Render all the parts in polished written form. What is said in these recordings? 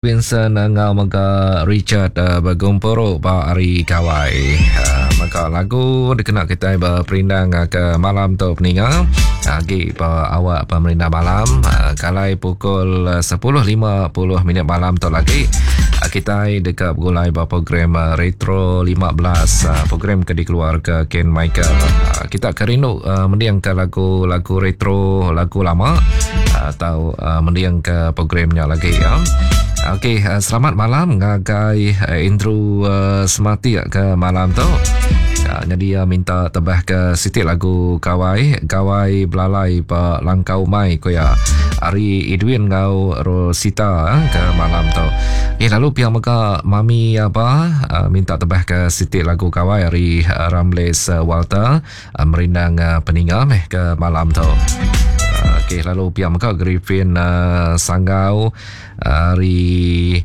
Vincent enggau mega Richard begumpuru ba hari Gawai. Mega lagu dikena kitai beperindang ke malam tu peninga. Agi ba awak pemerindang malam kalai pukul 10.50 minit malam tu lagi kitai deka begulai ba program Retro 15 program ke dikeluarka Ken Michael. Kita ke rindu mendingka lagu-lagu retro, lagu lama atau mendingka program nya lagi ya. Okey, selamat malam ngagai Andrew Sematik ke malam tu. Jadi ia minta tebah ke siti lagu Gawai, Gawai Belalai ba Langkau Umai ko ya. Ari Edwin enggau Rosita ke malam tu. Eh lalu pia mega mami aba minta tebah ke siti lagu Gawai ari Ramles Walter. Merindang peninga meh ke malam tu. Okey lalu pia mega Griffin Sanggau ari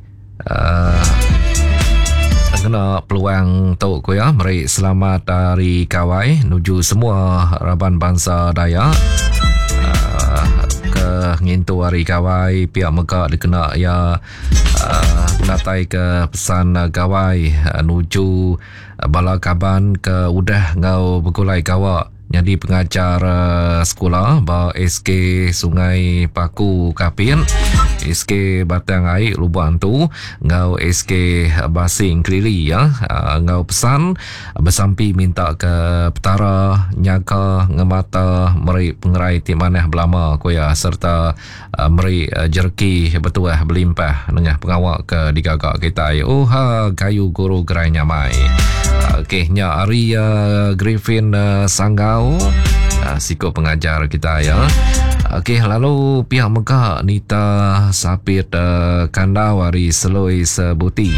ngena peluang tu ku iya meri selamat hari Gawai nuju semua raban bansa Dayak ke ngintu hari Gawai pia mega dikena iya ngenatai ke pesan Gawai nuju Bala kaban ke udah enggau begulai gawa nyadi pengajar sekula ba SK Sungai Paku Kapit, SK Batang Ai Lubok Antu enggau SK Basing Kelili ya enggau pesan besampi minta ke Petara nyaga ngemata meri pengerai ti manah belama ku iya sereta Meri jereki betuah belimpah nengah pengawa ke digaga kitai. Oha gayu guru gerai nyamai. Okey nya ari Griffin Sanggau siku pengajar kitai ya. Okey lalu pia mega Nita Sapit Kandau ari Seloi Sebuti.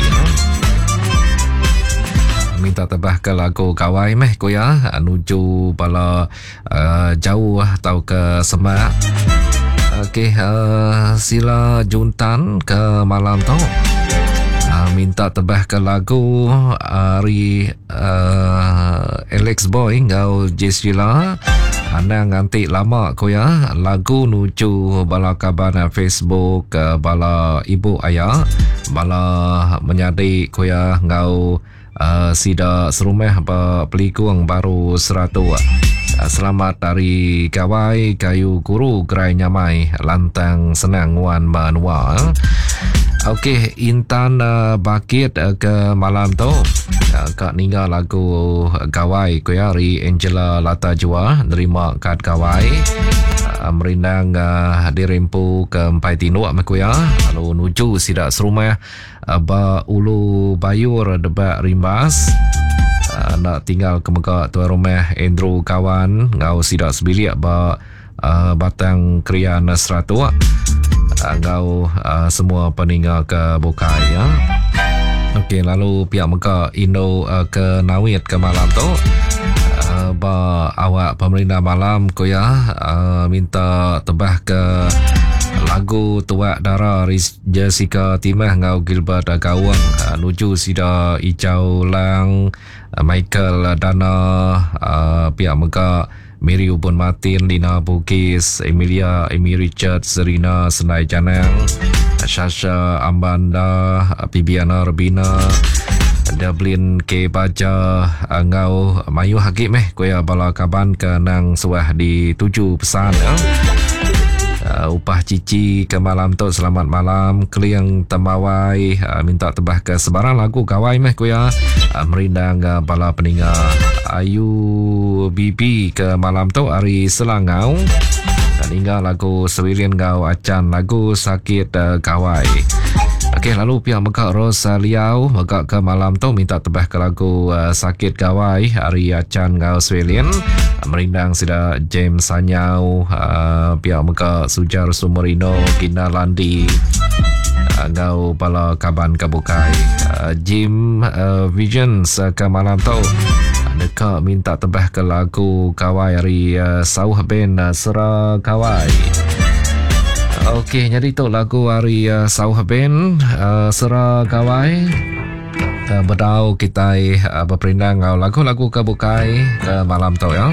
Minta tebah ke lagu gawai meh ku iya nuju bala jauh tauka semak. Okey, sila juntan ke malam tu. Minta tebah ke lagu ari Alex Boy enggau Jesrila. Anang nganti lama ku iya lagu nuju bala kaban Facebook bala ibu aya bala menyadi ku iya enggau Sida serumah ba Pelikung Baru Seratuk. Selamat Hari Gawai Kayu Guru Gerai Nyamai Lantang Senang Nguan Menua. Okey, Intan Bakit ke malam tu ka ninga lagu Gawai ku iya ari Angela Lata Jua nerima kad Gawai. Merindang diri empu ke empai tinduk meh ku iya lalu nuju sida serumah Ba Ulu Bayur Debak Rimbas enda tinggal ke mega tuai rumah Andrew Kawan enggau sida sebilik ba Batang Krian Seratuk enggau semua peninga ke bukai ya. Okey lalu pia mega indu ke nawit ke malam tu ba awak pemerindang malam ku iya minta tebah ke lagu Tuak Dara Jessica Timah enggau Gilbert Gaung nuju sida Ijau Lang, Michael Dana, pia mega Mary Ubun Martin, Lina Bugis, Emilia Amy Richard, Serina Senai Janang, Shasha Ambanda, Bibiana Rebina, Dublin K Baja enggau mayuh agi meh ku iya bala kaban ke nang suah dituju pesan ya. Upah cici ke malam tu selamat malam keling tembawai minta tebah ke sebarang lagu gawai meh ku iya merindang bala peninga ayu bibi ke malam tu ari Selangau ningga lagu Sewilin enggau Acan lagu Sakit Gawai. Okey lalu pia mega Rosa Liau mega ke malam tu minta tebah ke lagu Sakit Gawai ari Acan enggau Sewilin. Merindang sida James Sanyau pia mega Sujar Sumerino Gina Landi enggau bala kaban ke bukai. Jim Visions ke malam tu deka minta tebah ke lagu Gawai ari Sauh Band Sera Gawai. Okey, nyadi tu lagu ari Sauh Band Sera Gawai. Bedau kitai beperindang enggau lagu-lagu ke bukai ke malam tu ya.